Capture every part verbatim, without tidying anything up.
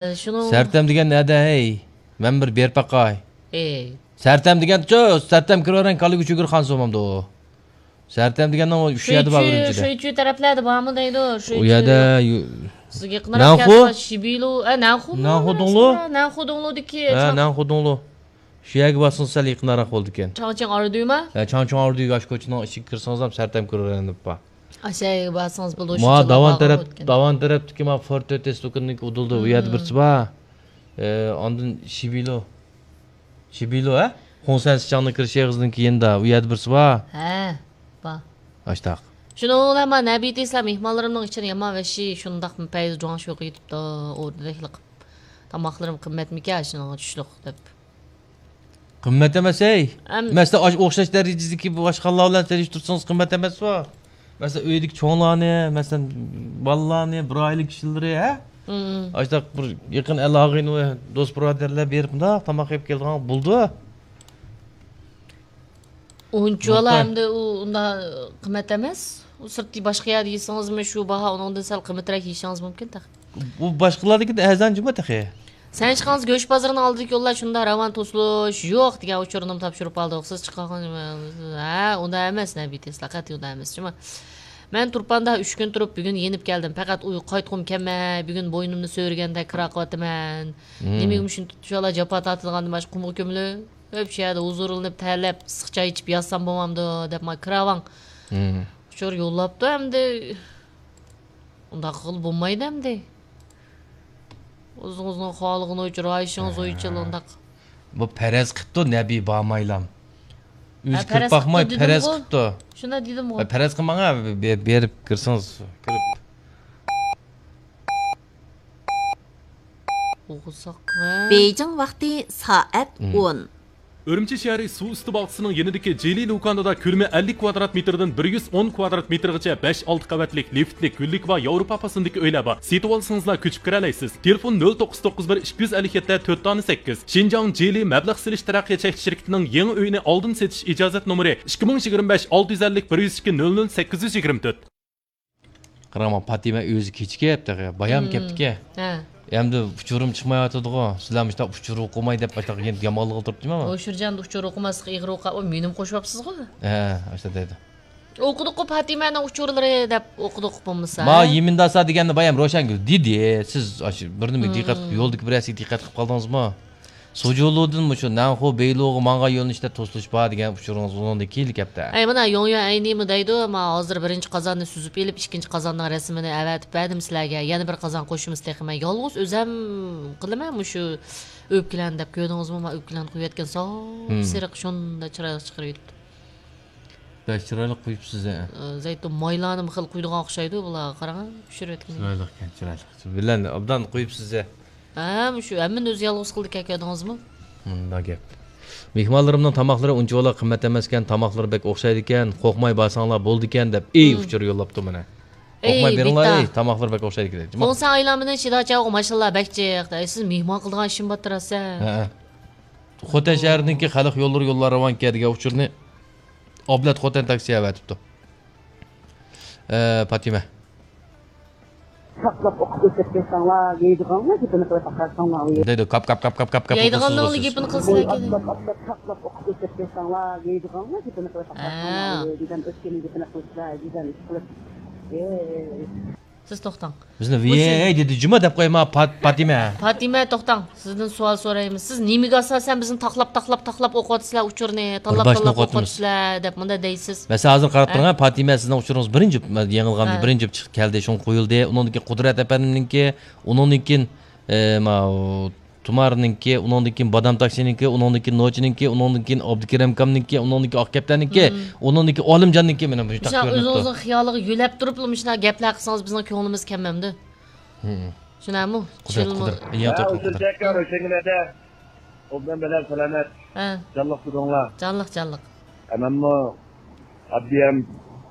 شۇنىڭ سەرتەم دېگەن نەدە، ھەي؟ مەن بىر بېرىپ باقاي. ئەي. سەرتەم دېگەنچۇ، سەرتەم كىرىۋەرگەن كاللىگە چۈگۈر خانسۇ بولمامدۇ؟ سەرتەم دېگەننىڭ شۇ يەردە بار، ئۈرۈمچىدە. شۇيچۈ تەرەپلەردە بارمۇ دەيدۇ، شۇيچۈ. ئۇ يەردە يۇ-، سىزگە يېقىنراق نەنخۇ؟ كەلسە شىبىلۇ، ئە، نەنخۇمۇ نەنخۇ دۇڭلۇ؟ نەنخۇ دۇڭلۇدىكى ھە، چاڭ- نەنخۇ دۇڭلۇ. شۇ يەرگە بارسىڭىز سەل يېقىنراق بولىدىكەن. چاڭچىڭ ئاردۈيما؟ ھە، چاڭچىڭ ئاردۈيگە ئاشۇ كوچىنىڭ ئىچىگە كىرسىڭىز ھەم سەرتەم كۆرۈۋېرىڭ دەپ بار. ئاشۇ يەرگە بارسىڭىز بولىدۇ، شۇ مانا چىللىق داۋان باغ تەرەپ، ئۆتكەن. داۋان تەرەپتىكى مانا فورتۆت تېسلۇكىنىڭ ئۇدۇلدا ئۇ يەردە بىرسى بار. ئە، ئاندىن شىبىلو. شىبىلو، ھە؟ خۇڭسەن سىچاڭنىڭ كىرىش ئېغىزىنىڭ كېيىندا ئۇ يەردە بىرسى بار. ھە، بار. ئاشتاق. شۇنىڭ بىلەن مانا نەبى تېسلا مېھمانلىرىمنىڭ ئىچىدە يامان ۋەھشىي، شۇنداق پەيزى جۇاڭشۇغا يېتىپتۇ، ئوردىدەكلا قىلىپ. تاماقلىرىم قىممەتمىكەن، شۇنىڭغا چۈشلۈق دەپ. قىممەت ئەمەس، ھەي. ئەم- مەسىلەن، ئاشۇ ئوخشاش دەرىجىدىكى باشقا خانلار بىلەن سېلىشتۇرسىڭىز قىممەت ئەمەسمۇ؟ مەسىلەن، ئۆيدىكى چوڭلارنى، مەسىلەن، بالىلارنى، بىر ئائىلە كىشىلىرى، ھە؟ مم. ئاشۇنداق بىر يېقىن ئەل ئاغىنە ۋە دوست بۇرادەرلەر بېرىپ مۇنداق تاماق يەپ كەلگەن بولىدۇ. ئۇنچىۋالا نۇقتا. ئەمدى ئۇ ئۇنداق قىممەت ئەمەس. ئۇ سىرتتا باشقا يەردە يېسىڭىزمۇ شۇ باھا، ئۇنىڭدىن سەل قىممىتراق يېيىشىڭىز مۇمكىن تېخى. بۇ باشقىلاردىكى ئەرزان جۇمۇ تېخى. سەن چىققانسىز گۆش بازىرىنىڭ ئالدىدىكى يوللار شۇنداق راۋان، توسۇلۇش يوق دېگەن ئۇچۇرنىمۇ تاپشۇرۇپ ئالدۇق. سىز چىققان، ھە، ئۇنداق ئەمەس، نەبى تېسلا قەتئىي ئۇنداق ئەمەس جۇمۇ. مەن تۇرپاندا ئۈچ كۈن تۇرۇپ، بۈگۈن يېنىپ كەلدىم. پەقەت ئۇ قايتقۇم كەلمەي، بۈگۈن بوينۇمنى سۆرىگەندەك كىرا قىلىۋاتىمەن. مم. نېمىگە مۇشۇنچىۋالا جاپا تارتىدىغاندىن باشقا قۇمغا كۆمۈلۈپ، شۇ يەردە ھۇزۇرلىنىپ، تەرلەپ، ئىسسىق چاي ئىچىپ ياتسام بولمامدۇ دەپ، مانا كىراۋاڭ مم. ئۇچۇر يوللاپتۇ ئەمدى. ئۇنداق قىلغىلى بولمايدۇ ئەمدى. ئۆزىڭىزنىڭ خالىغىنى ئۇچۇر، رايىشىڭىز ھە. ئويچىل ئۇنداق. بۇ پەرەز قىپتۇ، نەبى بارمايلام. ئۆزى ھە، كىرىپ پەرەز باقماي قىپتۇ پەرەز دېدىمغۇ. قىپتۇ. شۇنداق دېدىمغۇ. ھە، پەرەز قىلماڭ، ھە، بېرىپ كىرسىڭىز، كىرىپ. ئوقۇساق، ھە؟ بېيجىڭ ۋاقتى سائەت مم. ئون. ئۈرۈمچى شەھىرى سۇ ئۈستى باغچىسىنىڭ يېنىدىكى جىلى لۇكاندىدا كۆلىمى ئەللىك كۋادرات مېتىردىن بىر يۈز ئون كۋادرات مېتىرغىچە بەش، ئالتە قەۋەتلىك لىفتلىك، گۈللۈك ۋە ياۋروپا پاسىلىدىكى ئۆيلەر بار. سېتىۋالسىڭىزلا كۆچۈپ كىرەلەيسىز. تېلېفون نۆل توققۇز توققۇز بىر ئىككى يۈز ئەللىك يەتتە تۆت دانە سەككىز. شىنجاڭ جىلى مەبلەغ سېلىش تەرەققىيات چەكلىك شىركىتىنىڭ يېڭى ئۆيىنى ئالدىن سېتىش ئىجازەت نومۇرى ئىككى مىڭ يىگىرمە بەش ئالتە يۈز ئەللىك بىر يۈز ئىككى نۆل نۆل سەككىز يۈز يىگىرمە تۆت. قاراڭ، پاتىمە ئۆزى كېچىكىپ تېخى بايام مم. كەپتىكەن. ھە. ئەمدى ئۇچۇرۇم چىقمايۋاتىدىغۇ. سىلەر مۇشۇنداق ئۇچۇر ئوقۇماي دەپ باشلاپ يەنە يامانلىقىغا تۇرۇپتىما؟ ھوشۇرجان ئۇچۇر ئوقۇماسلىق ئېغىر ئوقاپ، مېنىمۇ قوشۇۋاپسىزغۇ. ھە، ئاشۇنداق دەيدۇ. ئوقۇدۇققۇ پاتىمەنىڭ ئۇچۇرلىرى دەپ ئوقۇدۇققۇ بولمىسا. ما يىمىنداسا دېگەننى بايام روشەنگۈل دېدى. سىز ئاشۇ بىر نېمە مم. دىققەت قىلىپ، يولدىكى بىر نەرسىگە دىققەت قىلىپ قالدىڭىزمۇ؟ سوجۇلۇدىن مۇشۇ نەنخۇ بېيلۇغا ماڭغان يۆنىلىشتە توسۇلۇش بار دېگەن ئۇچۇرىڭىز ئۇنىڭدىن كېيىنلا كەپتۇ. ئەي، مانا يوڭيۈەن ئەينىمۇ دەيدۇ، مانا ھازىر بىرىنچى قازاننى سۈزۈپ ئېلىپ، ئىككىنچى قازاننىڭ رەسىمىنى ئەۋەتىپ بەردىم سىلەرگە. يەنە بىر قازان قوشىمىز تېخى. مەن يالغۇز ئۆزەم قىلىمەن مۇشۇ ئۆپكىلەرنى دەپ كۆردىڭىزمۇ؟ مانا ئۆپكىلەرنى قويۇۋەتكەن ساپسېرىق، شۇنداق چىرايلىق چىقىرىۋېتىپتۇ. بەك چىرايلىق قويۇپسىز ھە. ئە، زەيتۇن مايلارنىمۇ خېلى قويىدىغان ئوخشايدۇ بۇلار، قاراڭ، پىشۇرۇۋەتكىنى. چىرايلىقكەن، چىرايلىق. بىلەن ئوبدان قويۇپسىز ھە. ھە، مۇشۇ ھەممىنى ئۆزى يالغۇز قىلدىكەن، كۆردىڭىزمۇ؟ مۇنداق گەپ. مېھمانلىرىمنىڭ تاماقلىرى ئۇنچىۋالا قىممەت ئەمەسكەن، تاماقلىرى بەك ئوخشايدىكەن، قورقماي بارساڭلار بولىدىكەن دەپ، ئېي، مم. ئۇچۇر يوللاپتۇ مانا. ئەي، قورقماي بېرىڭلار، بىتا. ئېي، تاماقلىرى بەك ئوخشايدىكەن. خۇڭسەن ئايلانمىدىن شىداچاۋغا ماشاللا بەك جىق. ئەي، سىز مېھمان قىلىدىغان ئىشىم بارتى راسا. ھە، ھە. خوتەن شەھىرىنىڭكى خەلق يوللىرى يوللار راۋان كەدىگە ئۇچۇرنى ئابلەت خوتەن تاكسى ئەۋەتىپتۇ. ئە، پاتىمە. ساقلاپ ئوقۇپ ئۆتۈپ كەتسەڭلار، يەيدىغانلا گېپىنى قىلىپ ئاقارساڭلار. دەيدۇ، كاپ، كاپ، كاپ، كاپ، كاپ، كاپ. يەيدىغاننىڭلا گېپىنى قىلسىلا كېدى. ئاتلاپ، ئاتلاپ، ساقلاپ ئوقۇپ ئۆتۈپ كەتسەڭلار، يەيدىغانلا گېپىنى قىلىپ ئاقارساڭلار. ھە. دېگەن ئۆتكەن گېپىنى قىلسىلا، دېگەن ئىش قىلىپ. ئەي. سىز توختاڭ. بىزنى ۋىيەي دېدى جۇما دەپ قويما، پات-، پاتىمە. پاتىمە، توختاڭ. سىزدىن سوئال سورايمىز. سىز نېمىگە ئاساسەن بىزنى تاقلاپ، تاقلاپ، تاقلاپ ئوقۇۋاتىسىلەر ئۇچۇرنى؟ تاللاپ، بىر باشتىن تاللاپ ئوقۇۋاتىمىز. ئوقۇۋاتىسىلەر دەپ مۇنداق دەيسىز. مەسىلەن، ھازىر قاراپ ھە؟ تۇرۇڭ، پاتىمە، سىزنىڭ ئۇچۇرىڭىز بىرىنچى، يېڭىلغان ھە. بىرىنچى چىقىپ كەلدى، شۇڭا قويۇلدى. ئۇنىڭدىن كېيىن قۇدرەت ئەپەندىمنىڭكى، ئۇنىڭدىن كېيىن، ئە، ماۋۇ تۇمارنىڭكى، ئۇنىڭدىن كېيىن بادام تاكسىنىڭكى، ئۇنىڭدىن كېيىن نوچىنىڭكى، ئۇنىڭدىن كېيىن ئابدۇكېرىم ئاكامنىڭكى، ئۇنىڭدىن كېيىن ئاق كەپتەرنىڭكى، مم. ئۇنىڭدىن كېيىن ئالىمجاننىڭكى، مانا مۇشۇنداق مۇشۇنداق كۆرۈنۈپ تۇرۇپ. ئۆزىڭىزنىڭ خىيالىغا يۆلەپ تۇرۇپلا مۇشۇنداق گەپلەر قىلسىڭىز بىزنىڭ كۆڭلىمىز كەلمەمدۇ؟ مم. شۇنداقمۇ؟ قۇدرەت، چىلمۇ؟ قۇدرەت. يېڭى ھە، تاپلىق ئۇچۇر قۇدرەت. چەككە روشەنگۈلەردە ئوبدان بىلەن سالامەت. ھە. جانلىق تۇرۇڭلار. جانلىق، جانلىق. ھە، مەنمۇ ئاددىي ھەم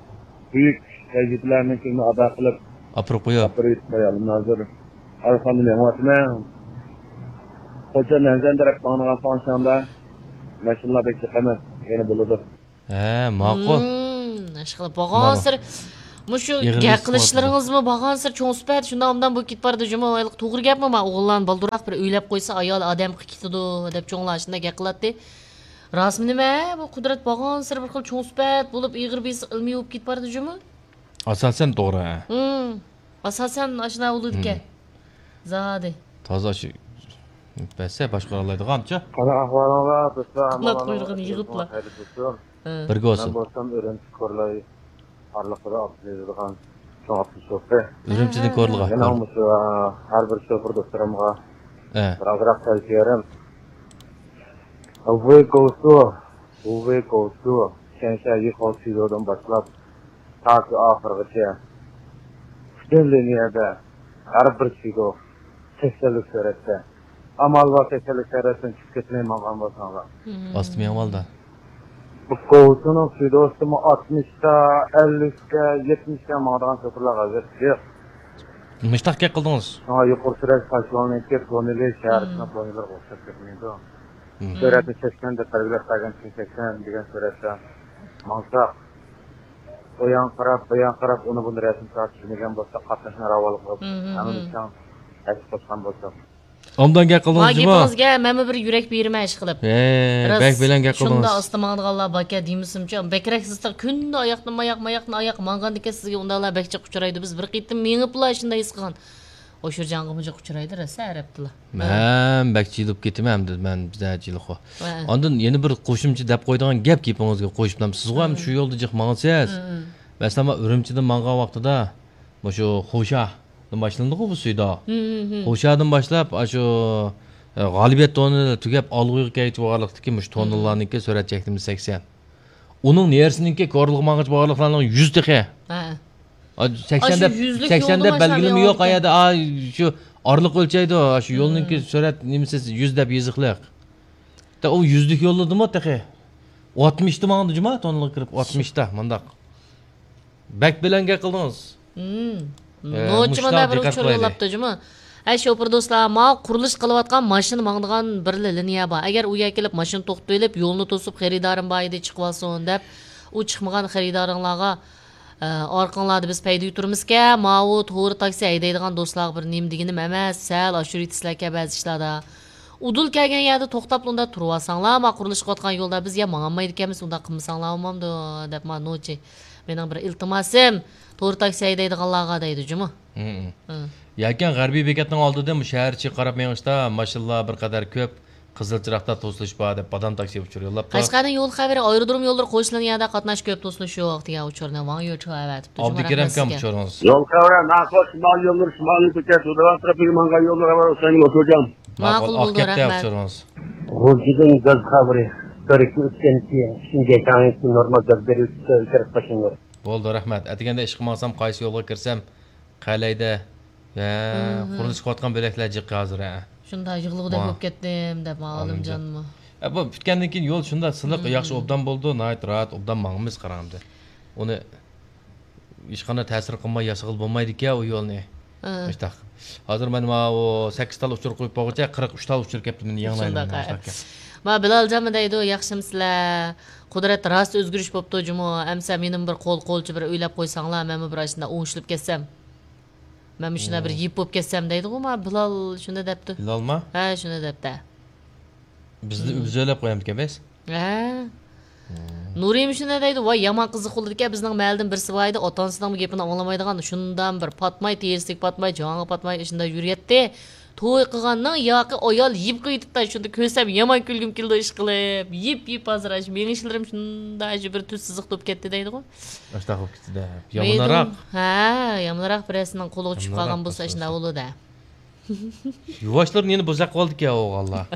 بۈيۈك ۋەزىپىلەرنى كۈندە ئادا قىلىپ، ئاپىرىپ قويۇپ. ئاپىرىپ قويالىم ھازىر. ئارقامدىن يېڭىۋاتىمەن. خوجا نەنزەن تەرەپ ماڭىدىغان فاڭشاڭدا ماشىنىلار بەك جىق ئەمەس. يەنە بولىدۇ. ھە، ماقۇل. مم، ئىشقىلىپ مانا. بولغانسېرى مۇشۇ ئېغىر گەپ قىلىشلىرىڭىزمۇ بارغانسېرى چوڭ سۈپەت شۇنداق ئوبدان بولۇپ كېتىپ بارىدۇ جۇمۇ. ھېلىقى توغرا گەپمۇ؟ ما ئوغۇللارنى بالدۇرراق بىر ئۆيلەپ قويسا ئايال ئادەم قىلىپ كېتىدۇ دەپ چوڭلار شۇنداق گەپ قىلاتتى. راستمۇ نېمە؟ بۇ قۇدرەت بارغانسېرى بىر خىل چوڭ سۈپەت بولۇپ، ئېغىر بېسىق ئىلمىي بولۇپ كېتىپ بارىدۇ جۇمۇ. ئاساسەن توغرا، ھە. ھىم. ئاساسەن ئاشۇنداق بولىدىكەن. ھىم. زادى. تازا شۇ بەسسە باشقۇرالايدىغانچە. قانداق ئەھۋالىڭلار دوستلار؟ قانات قۇيرۇقىنى يىغىپلا. ھە. بىرگە بولسۇن. مەن بولسام ئۈرۈمچى كورلاي ئارىلىقىدا ئابدۇلئەزىزغان چوڭ ئاپتوبۇس شوپۇرى. ئۈرۈمچىدىن كورلىغا. مېنىڭ مۇشۇ، ھەر بىر شوپۇر دوستلىرىمغا ھە. بىر ئازراق تەۋسىيەم. 无味狗素، 无味狗素، 全线一号区域دىن باشلاپ تاكى ئاخىرغىچە پۈتۈن لىنىيەدە ھەر بىر چېكو سەكسەنلىك سۈرئەتتە، ئامال بار سەكسەنلىك سۈرئەتتىن چۈشۈپ كەتمەي ماڭغان بولساڭلار. ئاستا مېڭىۋالدى. بۇ كوۋسىنىڭ سۈيدوسىمۇ ئاتمىشتا، ئەللىكتە، يەتمىشتە ماڭىدىغان شوپۇرلار غەزەپ يوق. مۇشتاق گەپ قىلدىڭىز. شۇڭا يۇقىرى سۈرئەت پاشلونىڭكى تونېلى شەھەرچىنىڭ تونېلىغا ئوخشاپ كەتمەيدۇ. سۈرئەتنى سەكسەن دەپ بەلگىلەپ بەرگەن، سەكسەن دېگەن سۈرئەتتە ماڭساق، ئۇ ياڭغا قاراپ، بۇ ياڭغا قاراپ، ئۇنى بۇنى رەسىم تارتىپ يۈرمىگەن بولساق، قاتناشما راۋانلىق بولۇپ، ھەممىمىز تەڭ ھەرىكەت قىلساق. ئوبدان گەپ قىلدىڭىز جۇمۇ. گېپىڭىزگە مەنمۇ بىر يۈرەك بېرىمەن ئىشقىلىپ. ھە، بەك بەلەن گەپ قىلدىڭىز. شۇنداق ئاستا ماڭىدىغانلار باركەن دېمىسىمچۇ، بەكرەك سىزتىغ كۈندە ئاياقتىن ئاياق، ماياقتىن ئاياق ماڭغاندىكىن سىزگە ئۇنداقلار بەك جىق ئۇچرايدۇ. بىز بىر قېتىم مېڭىپلا شۇنداق ھېس قىلغان. ئوشۇرجانغىمۇ جىق ئۇچرايدۇ راسا ئەرەبتىلا. مەن بەك جىلىپ كېتىمەن ئەمدى، مەن بىزدە جىلىخو. ئاندىن يەنە بىر قوشۇمچە دەپ قويىدىغان گەپ گېپىڭىزگە قوشۇپلا، سىزغۇ ھەم شۇ يولدا جىق ماڭىسىز. مەسىلەن، مەن ئۈرۈمچىدىن ماڭغان ۋاقتىدا مۇشۇ خوشادىن باشلىنىدىغۇ بۇ سۈيداغ. خوشادىن باشلاپ، ئاشۇ، ئە، غالىبىيەت تونېلى تۈگەپ، ئالغۇيغا كەلگۈچە بارلىقتىكى مۇشۇ تونېللارنىڭكى سۈرئەت چەكلىمىسى سەكسەن. ئۇنىڭ نېرىسىنىڭكى كورلىغا ماڭغۇچە بارلىقلارنىڭ يۈز تېخى. ھە. ئا، سەكسەن دەپ، سەكسەن دەپ بەلگىلىمە يوق ئا يەردە. ئا، شۇ ئارىلىق ئۆلچەيدۇ. شۇ يولنىڭكى سۈرئەت نېمىسى يۈز دەپ يېزىقلىق. دە، ئۇ يۈزلۈك يوللىدىمۇ تېخى. ئاتمىشتا ماڭدى جۇما، تونېلغا كىرىپ، ئاتمىشتا، مۇنداق. بەك بەلەن گەپ قىلدىڭىز. ئە، نوچى مانا بىر ئۇچۇر يوللاپتۇ جۇمۇ. ھەي، شوپۇر دوستلار، ما قۇرۇلۇش قىلىۋاتقان ماشىنا ماڭىدىغان بىر لىنىيە بار. ئەگەر ئۇ يەرگە كېلىپ ماشىنا توختىتىۋېلىپ، يولنى توسۇپ، خېرىدارىم بار ئىدى، چىقىۋالسۇن دەپ، ئۇ چىقمىغان خېرىدارىڭلارغا، ئە، ئارقىڭلاردا بىز پەيدە يۇتۇرىمىزكەن، ماۋۇ تور تاكسى ھەيدەيدىغان دوستلارغا بىر نېمە دېگىنىم ئەمەس، سەل ئاشۇرۇۋېتىسىلەركەن بەزى ئىشلاردا. ئۇدۇل كەلگەن يەردە توختاپلا ئۇنداق تۇرۇۋالساڭلار، ما قۇرۇلۇش قىلىۋاتقان يولدا بىز يا ماڭالمايدىكەنمىز، ئۇنداق قىلمىساڭلار بولمامدۇ دەپ، ما نوچى. مېنىڭ بىر ئىلتىماسىم، تور تاكسى ھەيدەيدىغانلارغا دەيدۇ جۇمۇ. ھىم. ياكەن غەربىي بېكەتنىڭ ئالدىدىن بۇ شەھەر ئىچىگە قاراپ مېڭىشتا ماشىنىلار بىر قەدەر كۆپ، قىزىل چىراغدا توسۇلۇش بار دەپ، بادام تاكسى ئۇچۇر يوللاپتۇ. قەشقەرنىڭ يول خەۋىرى، ئايرودروم يوللىرى قوشۇلغان يەردە قاتناش كۆپ توسۇلۇش يوق دېگەن ئۇچۇرنى ۋاڭ يۈچۈ ئەۋەتىپتۇ. ئابدۇكېرىم ئاكام ئۇچۇرىڭىز. يول خەۋىرى، ناخوش شىمال يوللىرى، شىمالىي كۆچە، تۇدىغان تەرەپىگە ماڭغان يوللار خەۋەر ئۇسەن ئۇچۇرجان. ماقۇل بولدى، رەھمەت. ئۇچۇرىڭىز. غۇلجىدىن گاز خەۋىرى، بىر ئىككى ئۈچتىن كېيىن شىنجاڭ نورمال گاز بېرىۋېتىپتۇ، كىرىپ باشلىنىدۇ. بولدى، رەھمەت. ئەتىگەندە ئىشقا ماڭسام، قايسى يولغا كىرسەم، قەلەيدە. ھە، قۇرۇلۇش قىلىۋاتقان بۆلەكلەر جىق ھازىر، ھە. شۇنداق يىغلىغۇدەك بولۇپ كەتتىم دەپ، ئالىمجانمۇ. ھە، بۇ پۈتكەندىن كېيىن يول شۇنداق سىلىق، ياخشى، ئوبدان بولىدۇ، ناھايىتى راھەت، ئوبدان ماڭىمىز قاراڭ ئەمدى. ئۇنى ھېچقانداق تەسىر قىلماي ياسىغىلى بولمايدىكەن ئۇ يولنى. مۇشتاق. ھازىر مەن ماۋۇ سەككىز تال ئۇچۇر قويۇپ بولغۇچە، قىرىق ئۈچ تال ئۇچۇر كەپتۇ، مېنى يېڭىلايمەن. شۇنداق، ھە. ما بىلالجانمۇ دەيدۇ، ياخشىمۇسىلەر؟ قۇدرەت راست ئۆزگىرىش بوپتۇ جۇمۇ. ئەمسە مېنىمۇ بىر قول، قولچە بىر ئۆيلەپ قويساڭلار، مەنمۇ بىر ئاشۇنداق ئوڭشىلىپ كەتسەم. مەن مۇشۇنداق بىر يىپ بولۇپ كەتسەم دەيدىغۇ، ما بىلال شۇنداق دەپتۇ. بىلالما؟ ھە، شۇنداق دەپتۇ. بىزنى ئۆزى ئۆيلەپ قويامدىكەن بىز؟ ھە. نۇرىم شۇنداق دەيدۇ، ۋاي يامان قىزىق بولىدىكەن، بىزنىڭ مەھەللىدىن بىرسى بار ئىدى، ئاتا ئانىسىنىڭمۇ گېپىنى ئاڭلىمايدىغان، شۇنداق بىر پاتماي، تېرىسىگە پاتماي، جاڭىغا پاتماي، شۇنداق يۈرۈيەتتى. توي قىلغاننىڭ ياقى ئايال يىپ قويۇۋېتىپتۇ، شۇنى كۆرسەم يامان كۈلگۈم كېلىدۇ، ئىشقىلىپ. يىپ، يىپ ھازىر ئاشۇ مېڭىشلىرىم شۇنداق شۇ بىر تۈز سىزىق بولۇپ كەتتى دەيدىغۇ. ئاشۇنداق بولۇپ كېتىدۇ. يامانراق. ھە، يامانراق بىرەرسىنىڭ قولىغا چۈشۈپ قالغان بولسا ئاشۇنداق بولىدۇ. يۇۋاشلىرىنى يەنە بوزەك قىلىۋالدىكەن ئوغۇللار.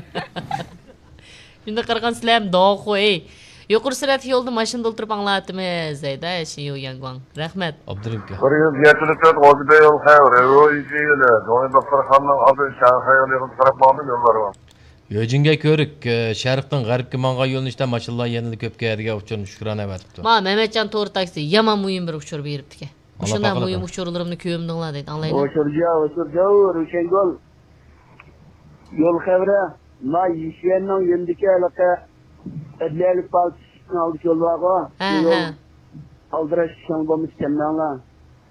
شۇنداق قارىغان سىلەرمۇ داۋخۇ، ئەي. يۇقىرى سۈرئەتلىك يولدا ماشىنىدا ئولتۇرۇپ ئاڭلاۋاتىمىز، دەيدۇ، شى يۇ ياڭگۇاڭ. رەھمەت. ئابدۇرېھىمكە. بىر يۈز يەتتە تۆت ئوتتۇز بىر يول خەۋىرى، رويجى يولى، دوڭي دوختۇرخانىنىڭ ئالدىدىن شاڭخەي يولىغا قاراپ ماڭىدۇ يوللار بار. يۆجىنگەي كۆۋرۈك، ئە، شەرقتىن غەربكە ماڭغان يۆنىلىشتە ماشىنىلار يەنىلا كۆپكەن دېگەن ئۇچۇرنى شۈكرانە ئەۋەتىپتۇ. ما، مەمەتجان تور تاكسى يامان مۇھىم بىر ئۇچۇر بېرىپتىكەن. مۇشۇنداق مۇھىم ئۇچۇرلىرىمنى كۆمدۈڭلار دەيدۇ، ئاڭلايلى. ئۇچۇرجا، ئۇچۇرجا، روشەنگۈل. يول خەۋىرى، ما يىشيەننىڭ يېنىدىكى ھېلىقى ئەدلىيەلىك پالاتىسىنىڭ ئالدىدىكى يول بارغۇ؟ ھە، شۇ يول ھە. ئالدىراش چىڭ بولمىسا كەلمەڭلار.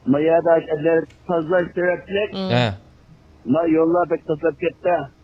ما يەردە ئەگەر تازىلاش سەۋەبلىك، ھە. ما يوللار بەك تازىلاپ كەتتى.